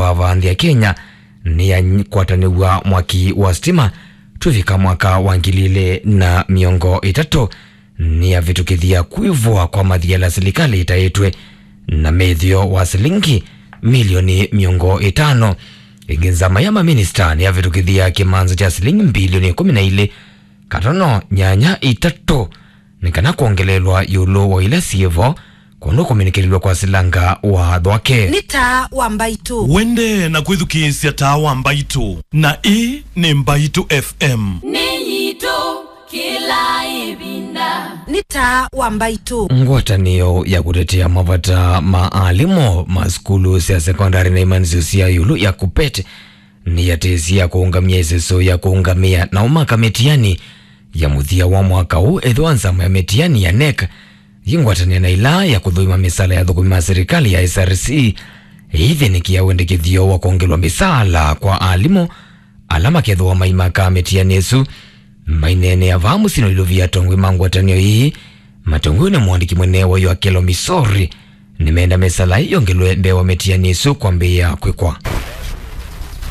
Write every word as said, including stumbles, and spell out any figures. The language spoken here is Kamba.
vava nthĩ ya Kenya nĩyakwatanĩw'a mwaki wa sitima twĩvika mwaka wa ngili ilĩ na mĩongo ĩtatũ, nĩyavĩtũkĩthya kwĩvwa kwa mathiala silikalĩ ĩtaĩtwe na mĩthyo wa silingi milioni mĩongo ĩtano. Ĩngĩ nzama ya maminista nĩyavĩtũkĩthya kĩmanza kya silingi mbilioni ĩkũmi na ilĩ katono nyanya itatũ nĩ kana kwongelelwa ĩũlũ wa ila syĩvo kũndũ kũminĩkĩlilwe kwa silanga wa thwake. Nĩ taa wa Mbaitũ. Wende na kwĩthukĩĩsya taa wa Mbaitũ, na ĩĩ nĩ Mbaitũ F M. Nĩ yitũ kĩla ĩvinda. Nĩ taa wa Mbaitũ. Ngwatanĩo ya kũtetea mavata ma alimũ ma sukulu sya sekondari na imanĩsyo sya ĩũlũ ya KUPPET nĩyatĩĩsye ya kũũngamĩa ĩseso ya kũũngamĩa na ũmaka mĩtiani ya mũthya wa mwaka ũũ, ethĩwa nzama ya mĩtiani ya NEC yĩngwatanĩa na ĩla ya kũthũima mĩsala ya athũkũmi ma silikalĩ ya S R C ĩithĩnĩkĩa wendekethyo wa kwongelwa mĩsala kwa alimũ ala makethĩwa maimaka mĩtiani ĩsu. Maineenea vaa mũsyĩnĩ wa Ilovia, atongoi ma ngwatanĩo ĩĩ matongoi nĩ mũandĩki mũnene wa Oakelo Misori nĩmenda mĩsala ĩĩ yongelwe mbee wa mĩtiani ĩsu kwambĩĩa kwĩkwa.